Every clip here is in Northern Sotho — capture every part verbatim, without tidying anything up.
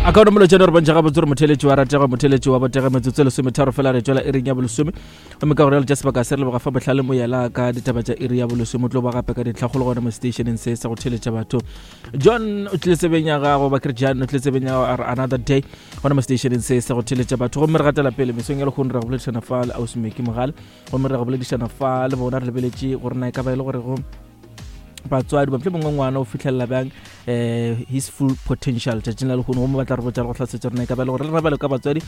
A ka nomolo tšeno re bontšha gabotse gore motheletši wa ratega, motheletši wa botega. Metsotso e lesometharo fela re tšwela iring ya bolesome, gomme ka gore tša sebaka se re leboga fa bohlale moyela ka ditaba tša iri ya bolesome. O tlo ba gape ka dintlhakgolo gona mo stationeng se sa go theletša batho. John o tlile tsebeng ya gago, ba kere John o tlile tsebeng ya gago another day gona mo stationeng se sa go theletša batho. Gomme re gatela pele mesong ya lekgono, re go boledišana fa le ausi Meki Mogale, gomme re go boledišana fa le bona re lebeletše gore na e ka ba e le gore go batswadi ba mohlomongwe ngwana o fitlhelela bjang um his full potential tšatšing la lehono. Gomme ba tla re botša le go tlhasetša rena e ka ba le gore le rena bjalo ka batswadi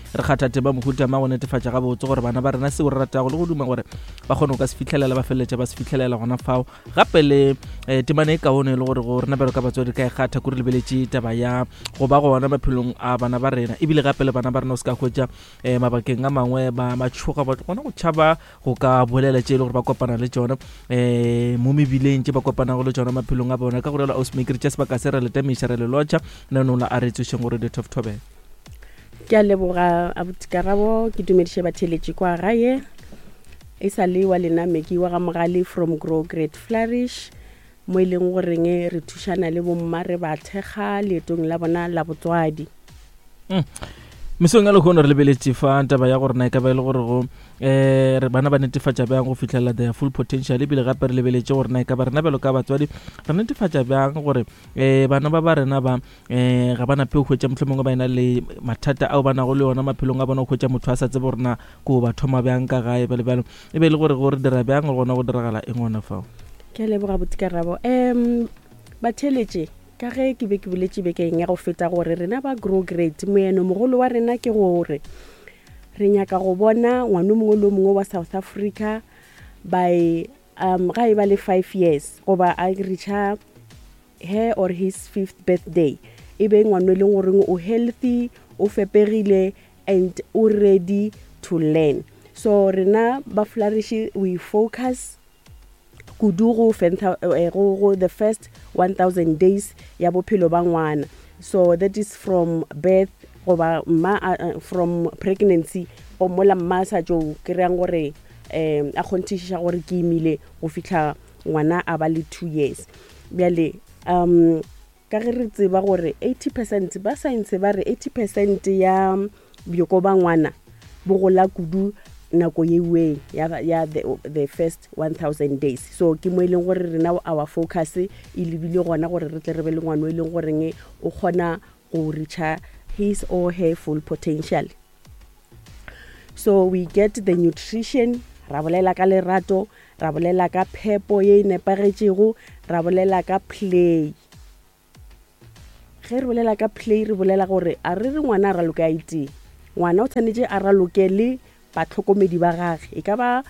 re kgatha tema mohuta ma go netefatša gabotse gore bana ba rena seo re ratago le go duma gore ba kgone go ka se fitlhelela, ba feleletša ba se fitlhelela gona fao. Gape le um temane e kaone e le gore go rena bjalo ka batswadi ka e kgatha kore lebeletše taba ya go ba gona maphelong a bana ba rena, ebile gape le bana ba rena o se ka hwetša um mabakeng a mangwe ba matšhoga, ba gona go tšhaba go ka bolela tše e le gore ba kopana le tšona um mo mebileng, tše ba kopanago le tšona maphelong a bona. Ka go rialo, ausmaker, tša sebaka se re le tamiša, re le lotšha nanola a re tsošeng gore the top thobela. Ke a leboga, abuti Karabo. Ke dumediše batheletši kwa gae. E sa le wa lena Meki wa ga Mogale from Grow Great Flourish, mo e leng goreng re thušana le bomma, re ba thekga leetong la bona la botswadi. Mesong ya lehono re lebeletše fa taba ya gore na e ka ba e le gore go um re bana ba netefatša bjang go fitlhelela their full potential, ebile gape re lebeletše gore na e ka ba rena bjalo ka batswadi re netefatša bjang gore um bana ba ba rena ba um ga ba nape go hwetša mohlomongwe ba ena le mathata ao ba nago le ona maphelong a bona, go hwetša motho a sa tsebe gore na ko ba thoma bjang ka gae, bjalo bjalo. E be e le gore go re dira bjang gona go diragala eng gona fao? Ke a leboga, abuti Karabo. um batheletše, ka ge ke be ke boletše bekeng ya go feta gore rena ba Grow Great, moeno mogolo wa rena ke gore re nyaka go bona ngwana o mongwe le o mongwe wa South Africa by um ga e ba le five years goba a reacha her or his fifth birthday, e be ngwana e leng goreng o healthy, o fepegile and o ready to learn. So rena ba Flourish, we focus kudu go fentha eh, go go the first one thousand days ya bophelo ba ngwana. So that is from birth goba mma uh, from pregnancy go mola mma a sa tšo kry-ang gore um a kgonthišiša gore ke imile go fitlha ngwana a ba le two years. Bjale um ka ge re tseba gore eighty percent, ba science ba re eighty percent ya bjoko ba ngwana bo gola kudu nako yeweng ya, ya the, the first one thousand days. So ke mo e leng gore rena our focus e lebile gona, gore re tle re be le ngwana o e leng goreng o kgona go reacha his or her full potential. So we get the nutrition, ra bolela ka lerato, ra bolela ka phepo ye e nepagetšego, ra bolela ka play. Ge re bolela ka play, re bolela gore a re re ngwana a raloke a itee, ngwana o tshwanetse a raloke le batlhokomedi ba gage, e ka ba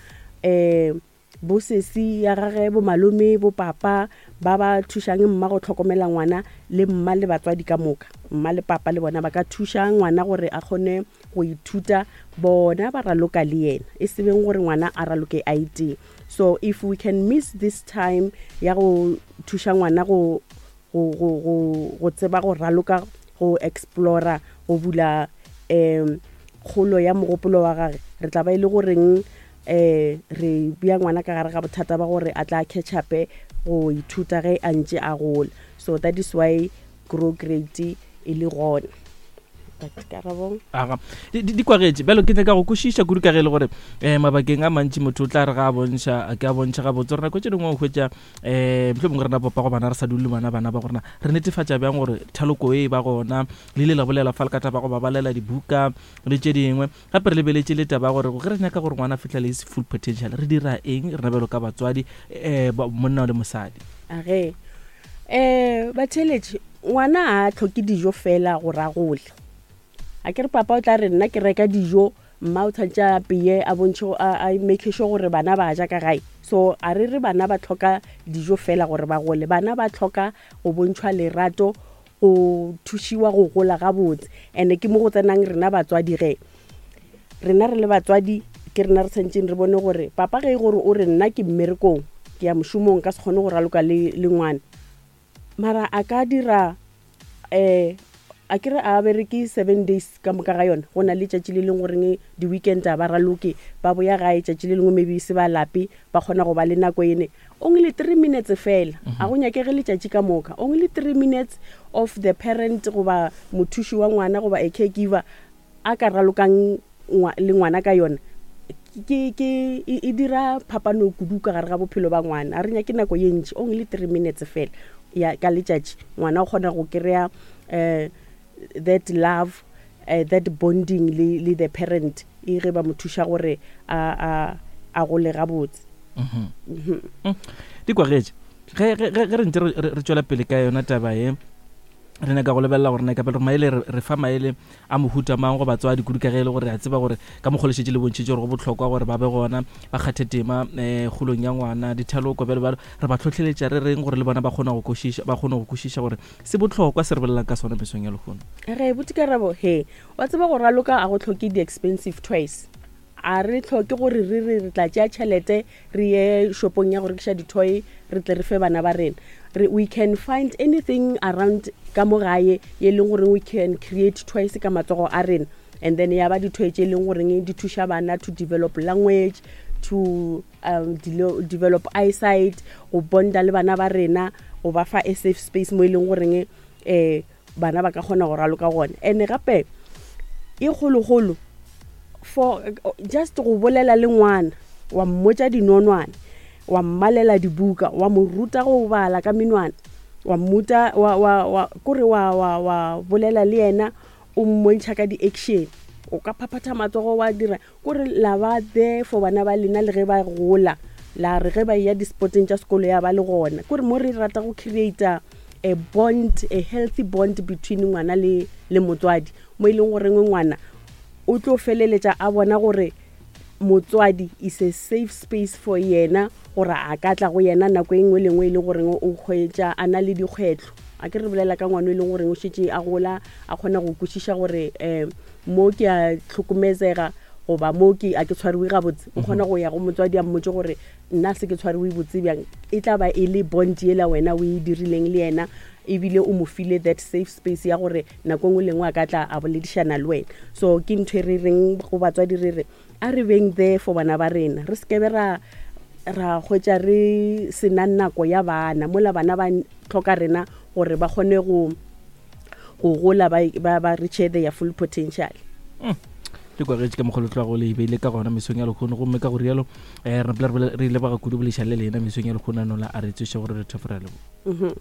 um bosesi ya gage, bo malome, bo papa ba ba thušang mma go tlhokomela ngwana, le mma le batswadi ka moka, mma le papa le bona ba ka thuša ngwana gore a kgone go ithuta, bona ba raloka le yena, e se beng gore ngwana a raloke a itee. So if we can miss this time ya go thuša ngwana go go go go go tseba go raloka, go explora, go bula um kgolo ya mogopolo wa gage, re tla ba e le goreng um re bea ngwana ka gare ga bothata ba gore a tla catch upe go ithuta ge a ntše a gola. So that is why Grow Great e le gona. Karabong. Aga di di- di kwagetše bjalo ke nyaka go kwešiša kudu ka ge e le gore um mabakeng a mantši motho o tla re ga a bontšha, ke a bontšha gabotse gore nako tše dingwe o hwetša um mohlomongwe rena papa go bana re sa dule le bana, bana ba gorena re netefatša bjang gore thaloko e ba gona? Le ile la bolela fa le ka taba go ba balela dibuka le tše dingwe. Gape re lebeletše le taba ya gore ge re nyaka gore ngwana a fitlhele his full potential, re dira eng rena bjalo ka batswadi, um monna le mosadi? Age um batheeletši, ngwana a tlhoke dijo fela gore a gole. A ke re papa o tla re nna ke reka dijo, mma o tshwanetse a peye, a bontšhe, a a make sure gore bana ba ja ka gae. So a re re bana ba tlhoka dijo fela gore ba gole, bana ba tlhoka go bontšhwa lerato, go thušiwa go gola gabotse. And ke mo go tsenang rena batswadi. Ge rena re le batswadi, ke rena re tshwanetseng re bone gore papa ge e gore o re nna ke mmerekong, ke ya mošomong, ka se kgone go raloka le, le ngwana, mara a ka dira um A kere a bereke seven days ka moka ga yona, go na le tšatši le leng goreng di-weekend a ba raloke, ba boya gae tšatši le lengwe, maybe se ba lape, ba kgona go ba le nako ene. Only three minutes fela, a go nyakege letšatši ka moka. Only three minutes of the parent goba mothuši wa ngwana goba a caregiver a ka ralokang ngwa- le ngwana ka yona, ke ke e e dira phapano kudu ka gare ga bophelo ba ngwana. A re nyake nako ye ntši, only three minutes fela ya ka letšatši, ngwana o kgona go kry-a um that love, uh, that bonding le, le the parent, e ge ba mo thuša gore a, a, a gole gabotse. Mhm. Di kwagetše ge ge- ge ge re ntse re re- re tšwela pele ka yona taba ye, re nyaka go lebelela gore na ka pele maele re re fa maele a mohuta mang go batswadi kudu, ka ge e le gore re a tseba gore ka mokgwa le šetše le bontšhitše gore go bohlokwa gore ba be gona, ba kgathe tema um kgolong ya ngwana, dithaloko bjalo bjalo. Re ba tlhotlheletša re reng gore le bona ba kgone go kwešiša, ba kgone go kwešiša gore se bohlokwa se re bolelang ka sona mesong ya lehono? Ge botikarabo he wa tseba go raloka a go tlhoke di-expensive toys. A re tlhoke gore re re re tla tšea tšhelete re ye shopong ya go rekiša di-toy, re tle re fe bana ba rena. Re we can find anything around ka mo gae ye leng gore we can create toys ka matsogo a rena, and then ya ba di-toy tše e leng goreng di thuša bana to develop language, to um, delo- develop eyesight, go bonda le bana ba rena, go ba fa a safe space mo e leng goreng um bana ba ka kgona go raloka gona. And gape e kgologolo, for just go bolela le ngwana, wa mmotša dinonwane, wa mmalela dibuka, wa mo ruta go bala ka menwana, wa mmuta wa wa wa kore wa wa wa bolela le yena, o mmontšha ka di-action, o ka phaphatha matsogo, wa dira kore la ba there for bana ba lena. Le ge ba gola, la re ge ba ya di-sporteng tša sekolo, ya ba le gona. Kore mo re rata go creata a bond, a healthy bond between ngwana le le motswadi, mo e leng goreng ngwana o tlo feleletša a bona gore motswadi is a safe space for yena, gore a ka tla go yena nako e nngwe le nngwe e leng goreng o hwetša a na le dikgwetlho. A ke re bolela ka ngwana e leng goreng o šetše a gola, a kgona go kwešiša gore um mo ke a tlhokometsega goba mo ke a ke tshwariwe gabotse, o kgona go ya go motswadi a mmotse gore nna se ke tshwariwe botse bjang. E tla ba e le bond yela wena o e dirileng le yena, ebile o mo file that safe space ya gore nako e nngwe le nngwe a ka tla a boledišana le wena. So ke ntho e re reng go batswadi, re re a re beng there for bana ba rena, re sekebe ra ra hwetša re sena nako ya bana mola bana ba tlhoka rena gore ba kgone go go gola, ba ba ba reach their full potential. Di kwagetše ka mokgwa le tloago le beile ka gona mesong ya lekgono, gomme ka go rialo um re napile re bole- re ile baga kudu boleiša le lena mesong ya lekgono nola a re tsoše gore re thefora lebo Mhm.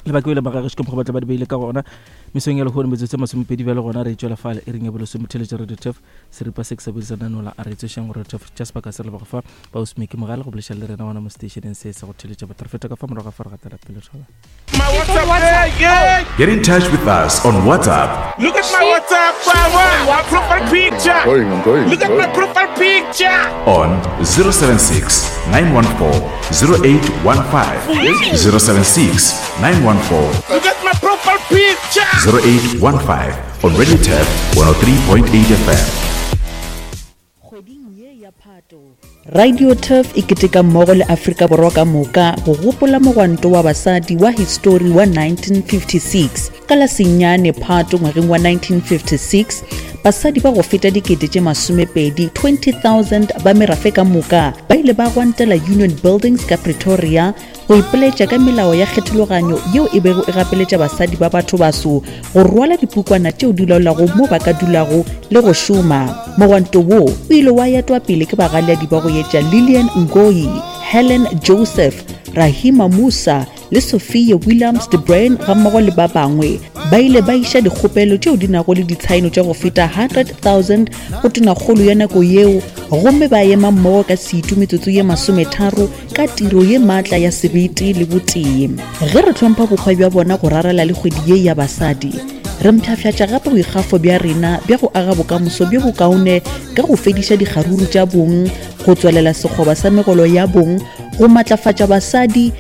lebaka ile magagešo ka mokgwa batla ba di beile ka gona mesong ya lekgono. Metsotso e masomepedi bjale gona re tšwela fale e reng ya bolesome, theletša Radio Turf, seripa se ke sa bolesana nola a re tsošeng gore Turf tša sebaka se re leboga fa ba osmeke mogale go boleša le rena gona mo stationeng se sa go theletša batho. Re feta ka fa morago ga fa re gatela pele thola. My WhatsApp, hey, yeah. Get in touch with us on WhatsApp Look at my WhatsApp, wow, my profile picture. Going, I'm going. Look at my going. profile picture. On zero seven six nine one four zero eight one five. zero seven six nine one four Look at my profile picture. zero eight one five on Radio Turf one oh three point eight F M. Kgweding ye ya Phato, Radio Turf e keteka mmogo le Afrika Borwa ka moka go gopola mogwanto wa basadi wa histori wa nineteen fifty-six. Ka la senyane Phato ngwageng wa nineteen fifty-six, basadi ba go feta dikete tše masomepedi twenty thousand ba merafe ka moka ba ile ba gwantela Union Buildings ka Pretoria go ipoletša ka melao ya kgethologanyo yeo e bego e gapeletša basadi ba batho baso go rwala dipukwana tšeo di laolago mo ba ka dulago le go šoma. Mogwanto wo o ile wa etwa pele ke bagaleadi ba go etša Lilian Ngoyi, Helen Joseph, Rahima Musa le Sophia Williams de Bruyn gammogo le ba bangwe. Ba ile ba iša dikgopelo tšeo di nago le ditshaeno tša go feta one hundred thousand go tonakgolo ya nako yeo, gomme ba ema mmogo ka setu metsotso ye masometharo ka tiro ye maatla ya sebete le botee. Ge re hlompha bokgwa bja bona go rarela le kgwedi ye ya basadi, re mpshafhatša gape boikgafo bja rena bja go aga bokamoso bjo bokaone ka go fediša dikgaruru tša bong, go tswalela sekgoba sa megolo ya bong, go matlafatša basadi.